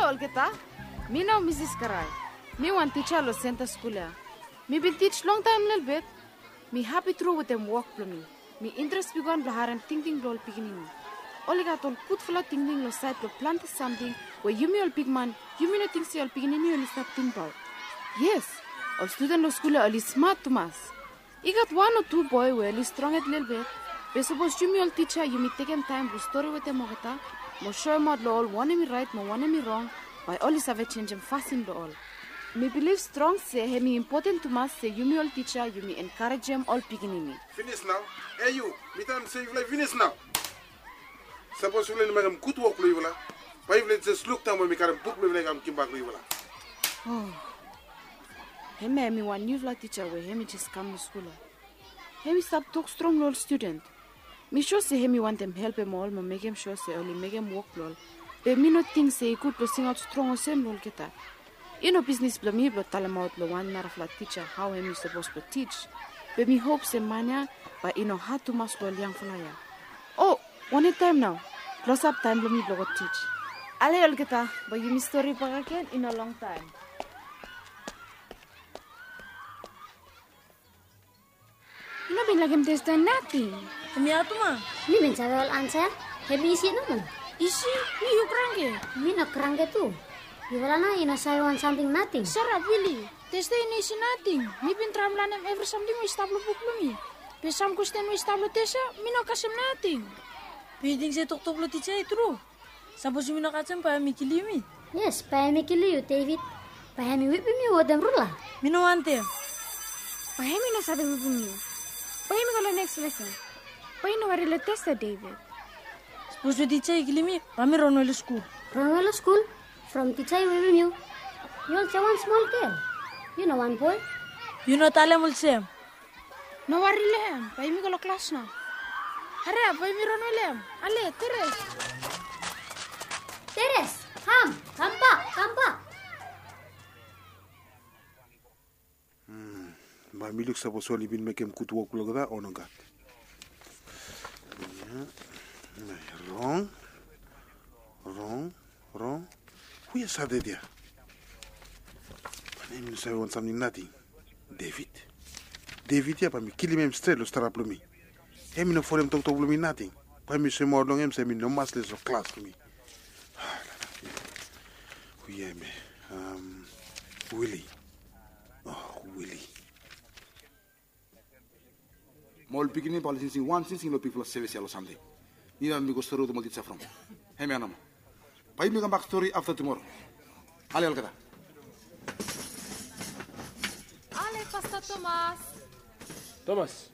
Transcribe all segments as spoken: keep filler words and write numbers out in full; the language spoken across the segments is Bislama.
Olgeta, mi no Misis Karai. Mi wan tija long senta skul ya. Mi bin tij longtaem lelebet. Mi hapi tru wetem wok blong mi. Mi interes bigwan blong harem tingting blong ol pikinini. Oli gat ol gudfala tingting long saed blong plante samting we yumi ol bigman, yumi no ting se ol pikinini oli stap tingbaot. Yes, ol studen long skul ya oli smat tumas. I gat wan o tu boe we oli stronghed lelebet. Be sapos yumi ol tija yumi tekem taem blong stori wetem olgeta mo soemaot long ol wanem i raet mo wanem i rong, bae oli save jenjem fasin blong ol. Mi bilif strong se hemi impoten tumas se yumi ol tija yumi enkarejem ol pikinini. Finis nao. E yu, mi talem se yufala i finis nao. Sapos yufala i no mekem gud wok blong yufala, bae yufala i jes lukdaon we mi karem buk blong yufala i kam givimbak long yufala. O, hemia hemi wan niufala tija we hemi jes kam long skul ya. Hemi stap tok strong long ol studen. Mi sua se hemi wantem helpem ol mo mekem sua se oli mekem wok blong ol. Be mi no ting se i gud blong singaot strong olsem long olgeta. I no bisnis blong mi blong talemaot long wan narafala tija hao hemi sapos blong tij. Be mi hop se man ya bae i no had tumas long ol yangfala ya. O, wanem taem nao? Klosap taem blong mi blong go tij. Ale olgeta, bae yumi stori bakegen i no longtaem. I no bin laekem testa nating. Hemia tumas. Mi bin save ol ansa. Hemi isi nomo. Isi? Mi yu kranke. Mi no kranke tu. Yufala nao i no save wan samting nating. Sarap, Wili. Testa i no isi nating. Mi bin traem lanem evri samting we i stap long buk blong mi. Be sam kwesten we i stap long testa, mi no kasem nating. Be yu ting se toktok blong tija i tru? Sapos yumi no kasem, bae hemi kilim yumi. Yes, bae hemi kilim yu, David. Bae hemi wipim yu wetem rula. Mi no wantem. Bae hemi no save wipim yu. Bae yumi go long neks lesen. Bae yu no wari long testa, David. Sapos we tija i kilim mi, bae mi ronwe long skul. Ronwe long skul? From tija i wipim yu? Yu olsem wan smol gel. Yu no wan boe. Yu no talem olsem. No wari long hem, bae yumi go long klas nao. Hariap, bae yumi ronwe long hem. Ale, Teres. Teres, kam, kambak, kambak. Bae mi luk sapos oli bin mekem gud wok blong olgeta o nogat. Ia, rong, rong, rong. Hu ya saed ya? Bae hemi no save wan samting nating. David. David ya bae mi kilim hem stret long stara blong mi. Hemi no folem toktok blong mi nating. Bae mi soemaot long hem se hemi no mas les long klas blong mi. Hu ya hemia? Am, Wili. O, Wili. Mo ol pikinini bae oli singsing wan singsing long bigfala sevis ya long Sande. Nida mi go stori wetem ol tija from. Hemia nomo. Bae yumi kambak stori afta tumora. Ale olgeta. Ale, Pasta Tomas. Tomas,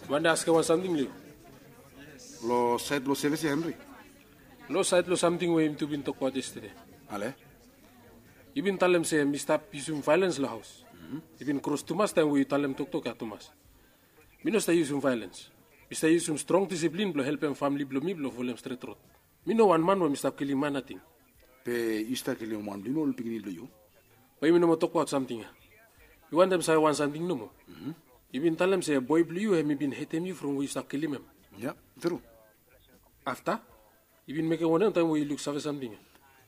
mi wantem askem wan samting long yu. Long saed blong sevis ya, Henry? Long saed blong samting we yumi tu bin tokbaot yestede. Ale? Yu bin talem se mi stap yusum vaelens long haos. Yu bin kros tumas taem we yu talem toktok ya tumas. Mi no stap yusum vaelens. Mi stap yusum strong disiplin blong helpem famle blong mi blong folem stret rod. Mi no wan man we mi stap kilim man nating. Be yu stap kilim wan blong yumi ol pikinini blong yu? Bae yumi no moa tokbaot samting ya. Mi wantem save wan samting nomo. Yu bin talem se boe blong yu hemi bin hetem yu from we yu stap kilim hem. Ya, tru. Afta? Yu bin mekem wanem taem we yu luksave samting ya?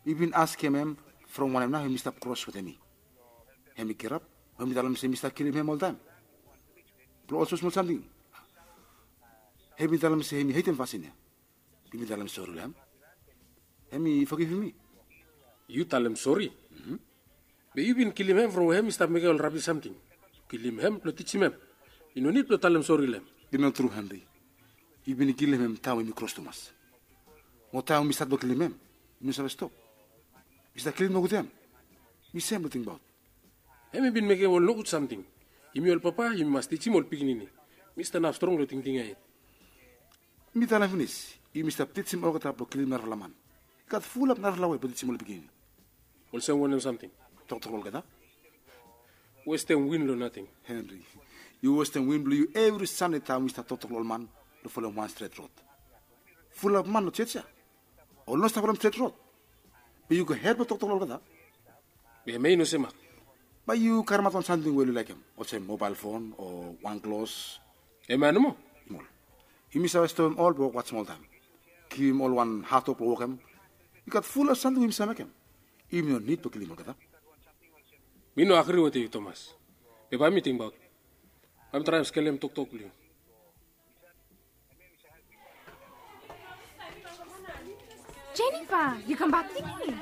Mi bin askem hem from wanem nao hemi stap kros wetem mi. Hemi girap, hemi talem se mi stap kilim hem oltaem. Blong ol smosmol samting. Hemi talem se hemi hetem fasin ya. Mi bin talem sori long hem. Hemi fogivim mi. Yu talem sori? Be yu bin kilim hem from we hem i stap mekem ol rabis samting. Kilim hem blong tijim hem. I no nid blong talem sori long hem. I no tru, Henry. Yu bin kilim hem taem we mi kros tumas. Mo taem we mi stat blong kilim hem, mi no save stop. Mi stap kilim nogut hem. Mi sem blong tingbaot. Hem i bin mekem ol nogud samting. Yumi ol papa, yumi mas tijim ol pikinini. Mi stanap strong long tingting ya yet. Mi talem finis, yumi stap tijim olgeta blong kilim narafala man. I gat fulap narafala wei blong tijim ol pikinini. Olsem wanem samting? Toktok long olgeta. Westem win long nating. Henry, yu westem win blong yu evri Sande taem yu stap toktok long ol man blong folem wan stret rod. Fulap man long jos ya oli no stap folem stret rod. Be yu go hed blong toktok long olgeta. Be hemia i no semak. Bae yu karemaot wan samting we oli laekem, olsem mobael fon o wan klos. Hemia nomo. Yumi save stopem ol blong wok smoltaem. Givim ol wan hadwok blong wokem. I gat fulap samting we yumi save mekem. Yumi no nid blong kilim olgeta. Mi no agri wetem yu, Tomas. Be bae mi tingbaot. Bae mi traem skelem toktok blong yu. Jennifer, yu kambak pikinini?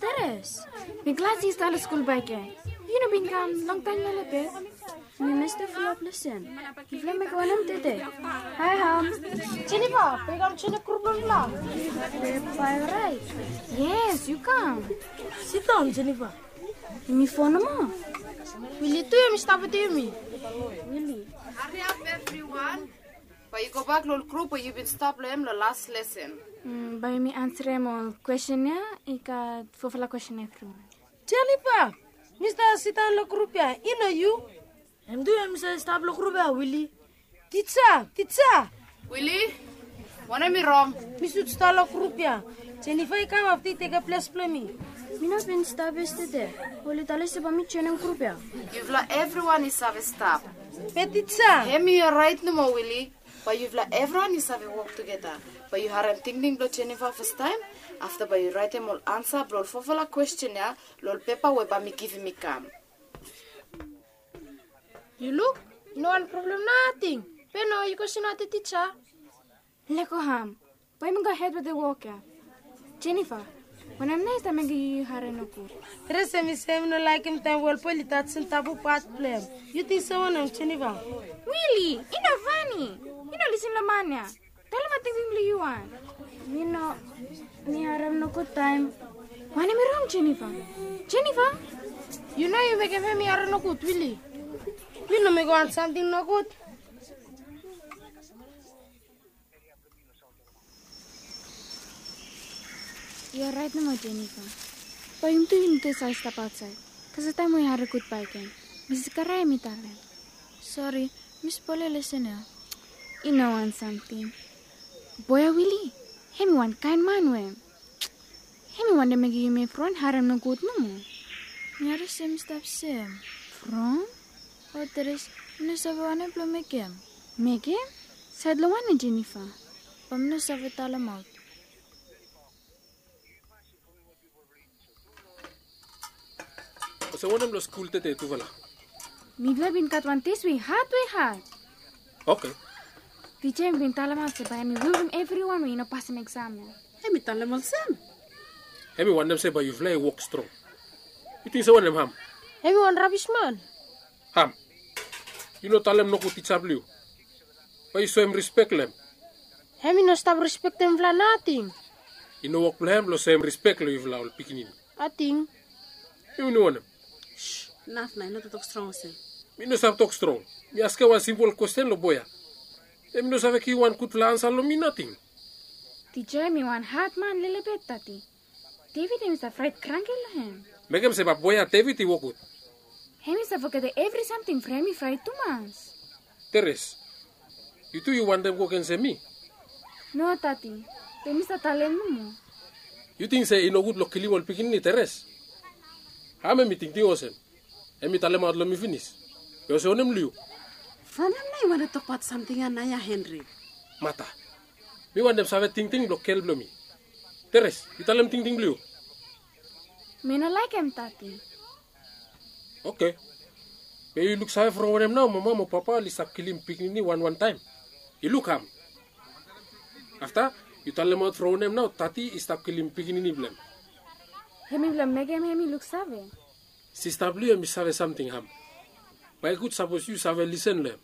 Teres, mi glad se yu stap long skul bakegen. Yu no bin kam longtaem lelebet. Mi mesta fulap lesen. Yufala mekem wanem tede? Hae, Ham. Jennifer, bae yu kam joenem grup blong yufala? Bae oraet. Yes, yu kam. Sidaon, Jennifer. Yumi fo nomo. Wili tu hemi stap wetem yumi. Wili. Hariap evriwan. Bae yu gobak long ol grup we yu bin stap long hem long las lesen. Mm, bae yumi ansarem ol kwestin ya, i gat fofala kwestin evriwan. Jennifer, mi stap sidaon long grup ya, i no yu? Hem tu hemi save stap long grup ya, Wili. Tija, tija! Wili, wanem i rong? Mi sud stap long grup ya. Jennifer i kam afta i tekem ples blong mi. Mi no bin stap yestede. Oli talem se bae mi joenem grup ya. Yufala evriwan i save stap. Be tija. Hemi oraet nomo, Wili. Bae yufala evriwan i save wok tugeta. Bae yu harem tingting blong Jennifer fastaem. Afta bae yu raetem ol ansa blong ol fofala kwestin ya long ol pepa we bae mi givim i kam. Yu luk, i no wan problem nating. Be no, yu go singaot tija. Lego Ham. Bae mi gohed wetem wok ya. Jennifer, wanem nao i stap mekem yu harem nogud? Teres hemi se hemi no laekem taem we ol boe oli tajem tabu pat blong hem. Yu ting se wanem, Jennifer? Wili, i no fani. Yu no lisin long man ya. Talemaot tingting blong yu wan. Mi no, mi harem nogud taem. Wanem i rong, Jennifer? Jennifer? Yu no, yu mekem hemi harem nogud, Wili. Mi no mekem wan samting nogud. Yu oraet nomo, Jennifer? Bae yumi tu yumi tu save stap aotsaed. Kasem taem we yu harem gud bakegen. Misis Karae hemi talem. Sori, mi spolem lesen ya. I no wan samting. Boe ya, Wili, hemi wan kaen man we hemi wantem mekem yumi evriwan harem nogud nomo. Mi harem se hemi stap sem. From? O Teres, mi no save wanem blong mekem. Mekem? Saed long wanem, Jennifer? Bae mi no save talemaot. Olsem wanem long skul tede, tufala? Mifala bin gat wan tes we i had, we i had. Oke. Tija hemi bin talemaot se bae hemi welkam evriwan we i no pasem eksam ya. Hemi talem olsem? Hemi wantem se bae yufala i wok strong. Yu ting se wanem, Ham? Hemi wan rabis man. Ham, yu no talem nogud tija blong yu. Bae yu soem rispek long hem. Hemi no stap rispektem yufala nating. I no wok blong hem blong soem rispek long yufala ol pikinini. Ating. Yu no wantem. Naf nao, i no toktok strong olsem. Mi no save tok strong. Mi askem wan simpol kwestin long boe ya. Hemi no save givim wan gudfala ansa long mi nating. Tija, hemi wan had man lelebet, Tati. David hemi save fraet kranki long hem. Mekem se bae boe ya David i wok gud. Hemi save fogetem evri samting from hemi fraet tumas. Teres, yu tu yu wantem go gensem mi? No, Tati. Be mi stap talem nomo. Yu ting se i nogud long kilim ol pikinini, Teres? Ham hemi tingting olsem? Hemi talemaot long mi finis. Be olsem wanem long yu? From hem nao yu wantem tokbaot samting ya nao ya, Henry? Mata, mi wantem save tingting blong gel blong mi. Teres, yu talem tingting blong yu. Mi no laekem, Tati. Oke. Be yu luksave from wanem nao mama mo papa oli stap kilim pikinini wanwan taem? Yu luk, Ham. Afta yu talemaot from wanem nao Tati i stap kilim pikinini blong hem. Hemi blong mekem hemi luksave. Sista blong yu hemi save samting, Ham. Bae i gud sapos yu save lisen long hem.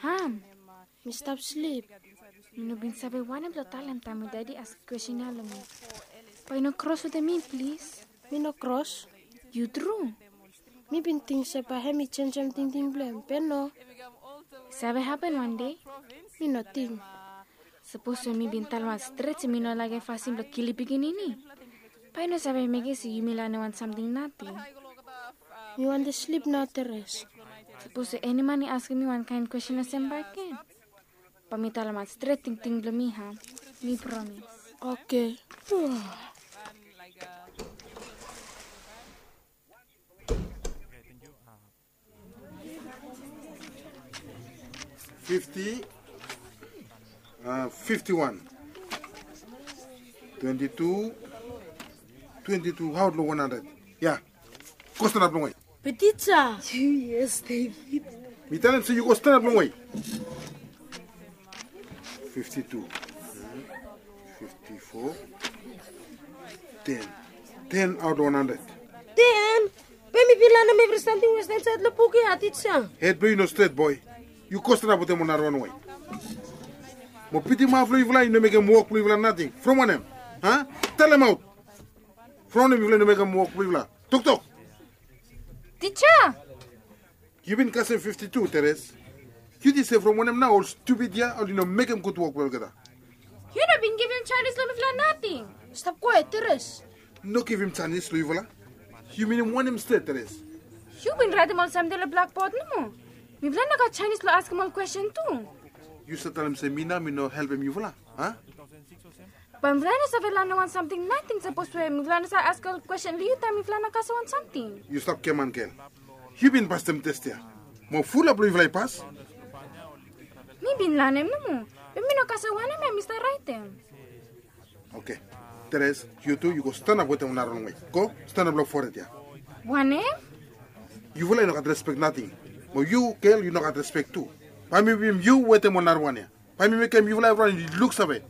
Ham, mi stap slip. Mi no bin save wanem blong talem taem we Dadi askem kwestin ya long mi. Bae yu no kros wetem mi, plis. Mi no kros. Yu tru? Mi bin ting se bae hemi jenjem tingting blong hem, be no. Save hapen wan dei. Mi no ting. Sapos we mi bin talemaot stret se mi no laekem fasin blong kilim pikinini, bae i no save mekem se yumi lanem wan samting nating. Mi wantem slip nao, Teres. Sapos we eni man i askem mi wan kaen kwestin olsem bakegen, bae mi talemaot stret tingting blong mi, Ham. Mi promis. Oke. Okay, thank you. Uh, Thank you. Fifty, a, fifty wan, twenti tu, twenti tu, aot long wan handred. Ya. Go stanap longwe. Be tija. Yes, David. Mi talem se yu go stanap longwe. Fifty tu, fifty fo, ten. Ten aot long wan handred. Ten? Be mi bin lanem evri samting we stap insaed long buk ya, tija. Hed blong yu i no stret, boe. Yu go stanap wetem ol narawan we. Mo bitim haf long yufala i no mekem wok blong yufala nating. From wanem? A? Talemaot. From wanem yufala i no mekem wok blong yufala? Toktok. Tija. Yu bin kasem fifti tu, Teres. Yu ting se from wanem nao ol stupid ya oli no mekem gud wok blong olgeta? Yu no bin givim janis long mifala nating. Stap kwaet, Teres. No givim janis long yufala? Yu minim wanem stret, Teres? Yu bin raetem ol samting long blakbod nomo. Mifala i no gat janis blong askem ol kwestin tu. Yu save talem se mi nao mi no helpem yufala, a? Bae mifala i no save lanem wan samting nating sapos we mifala i no save askem ol kwestin long yu taem mifala i no kasem wan samting. Yu stap giaman gel. Yu bin pasem tes ya. Mo fulap long yufala i pas. Mi bin lanem nomo. Be mi no kasem wanem ya mi stap raetem. Oke. Teres, yu tu yu go stanap wetem ol narawan we. Go stanap long fored ya. Wanem? Yufala i no gat respek nating. Mo yu gel yu no gat respek tu. Bae mi wipim yu wetem ol narawan ya. Bae mi mekem yufala evriwan i luksave.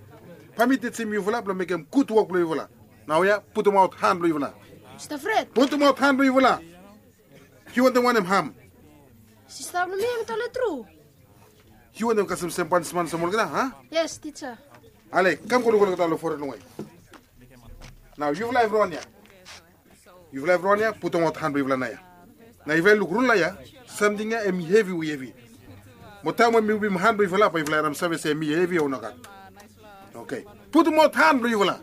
Bae mi tijim yufala blong mekem gud wok blong yufala. Nao ya putumaot han blong yufala. Mista Fred. Putumaot han blong yufala. Yu wantem wanem, Ham? Sista blong mi hem i tale tru. Yu wantem kasem sem panisman olsem olgeta, a? Yes, tija. Ale, kam go luk olgeta long fored longwe. Nao yufala evriwan ya. Yufala evriwan ya putumaot han blong yufala naoia. Nao yufala i luk rula ya, samting ya hem i hevi we hevi. Mo taem we mi wipim han blong yufala bae yufala i ram save se hem i hevi o nogat. Oke. Putumaot han blong yufala.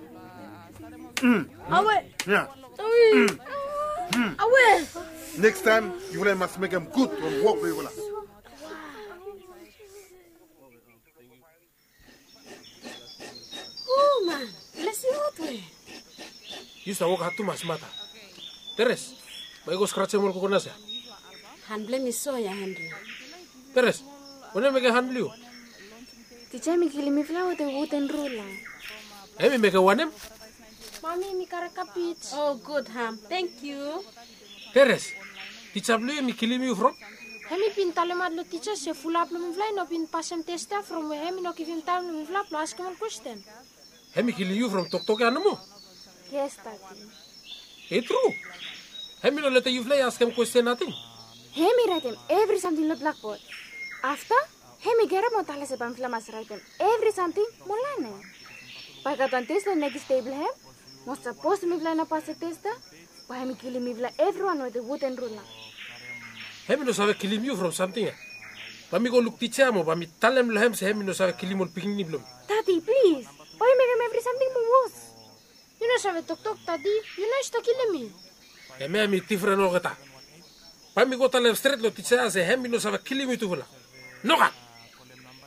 Awe. Ya. Awe. Nekis taem yufala i mas mekem gud ol wok blong yufala. O man, blesing hot we. Yu stap wok had tumas mata. Teres, bae yu go skrajem ol kokonas ya. Han blong mi so ya, Henry. Teres, wanem mekem han blong yu? Tija hem i kilim mifala wetem wuden rula. Hem i mekem wanem? Mami, mi karem kabej. O gud, Ham. Tangkiu. Teres, tija blong yu hem i kilim yu from? Hem i bin talemaot long tija se fulap blong mifala i no bin pasem tes ya from we hem i no givim taem long mifala blong askem ol kwesten. Hem i kilim yu from toktok ya nomo? Yes, Dadi. I tru. Hem i no letem yufala i askem kwesten nating. Hem i raetem evri samting long blakbod. Afta hem i gerap mo tale se bae mifala mas raetem evri samting mo lanem. Bae i gat wan tes long nekis dei blong hem, mo sapos mifala i no pasem tes ya, bae hem i kilim mifala evriwan wetem wuden rula. Hem i no save kilim yu from samting ya. Bae mi go luk tija mo bae mi talem long hem se hem i no save kilim ol pikinini blong mi. Dadi, plis, bae yu mekem evri samting moa wos. Yu no save toktok, Dadi. Yu no i stap kilim mi. Hemia hem i difren olgeta. Bae mi go talem stret long tija ya se hem i no save kilim yutufala. Nogat.